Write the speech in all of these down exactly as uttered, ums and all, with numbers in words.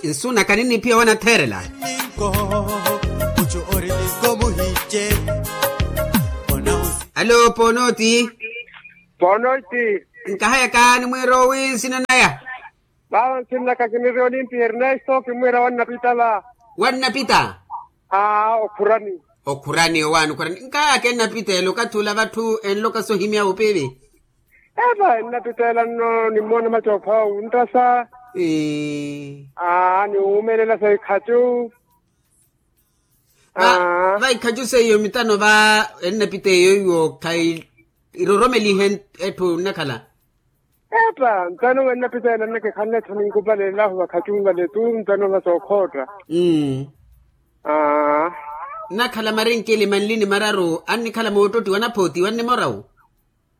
Nsu naka ninniphiya wanatheerela. Alo ponooti. Ponooti. Nkahayaka nimwiira owi nsina naya. Vava nsina naka kiniri olimpi ernesto kimwiira wannapita va. Wannapita. Aa okhurani. Okhurani owaani okhurani nkahayaka ennapita ela okathi ula vatthu enloka sohimya opiivi. Epa ennapiteela nno nimmoona macoopha wunttasa. Aa niwuumelela sa ikhacu. Va ikhacu seiyo mitano va ennapiteeyo iwo khayi iroromelihe etthu nnakhala. Epa ntano va ennapiteela nnakikhanle etthu ninkupalelahu vakhacu vale tu ntano va sookhootta. Aa. Nnakhala marinkili manli ni mararu annikhala moottotti wanaphooti wannimorawu.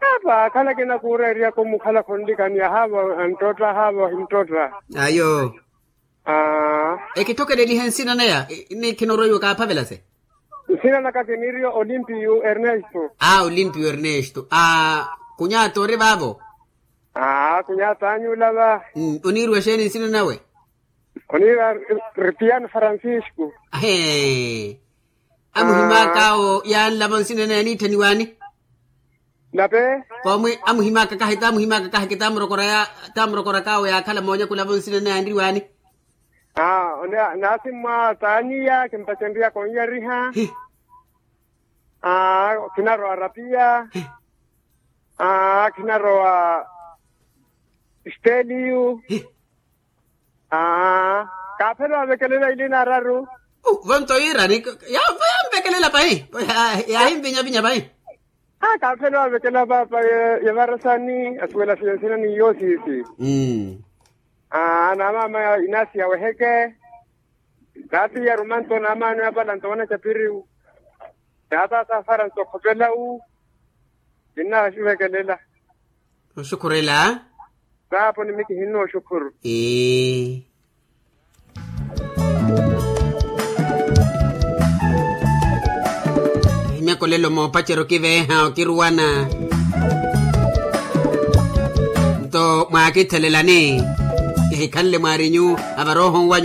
Apa akhala akina kuureeriyaka omukhala khonlikaniya haavo anttotta haavo ahinttotta. Ayo. Aa. Ekithokelelihe nsina naya ni khinoroiwa kaaphavelase. Nsina naka kiniriyo olimpiyo ernesto. Aa olimpiyo ernesto aa. Kunyata ori vaavo. Aa kunyata anyula va. Oniiriwa exeeni nsina nawe? Oniira ripiyano francisco. Ahee. Amuhimaakaawo yaanlavo nsina naye aniitthaniwaani. Nape. Koomwi amuhimaaka kahi taamuhimaaka kahi kitaamurokora ya taamurokorakawo yaakhala moonyakula vo nsina naye anriwaani. Aa naasimmwa taaniya kimpacenriyaka oniyariha. Aa khinarowa rapiya. Aa khinarowa steliyu. Aa kaaphela ovekelela ilina araru. Vonto yiirani. Yamvekelela pahi. Yaahimvinyavinya pahi. Aa kaaphela ovekela paapa. Yevarasani asuwela siya nsina ni yoosiisi. Aa na maama inasi yaweheke. Taati yarumanto na maano yapala nto wanacapiriwu. Taata safara nto khopelawu. Kinnaha xivekelela. Oxukhurela. Saapo ni mikihinna oxukhuru. Ee. Ehimyakolelo moopacerya okiveeha okiruwana. Nto mwaakithelelani. Kihikhanle mwaarinyu avarooho nwanyu.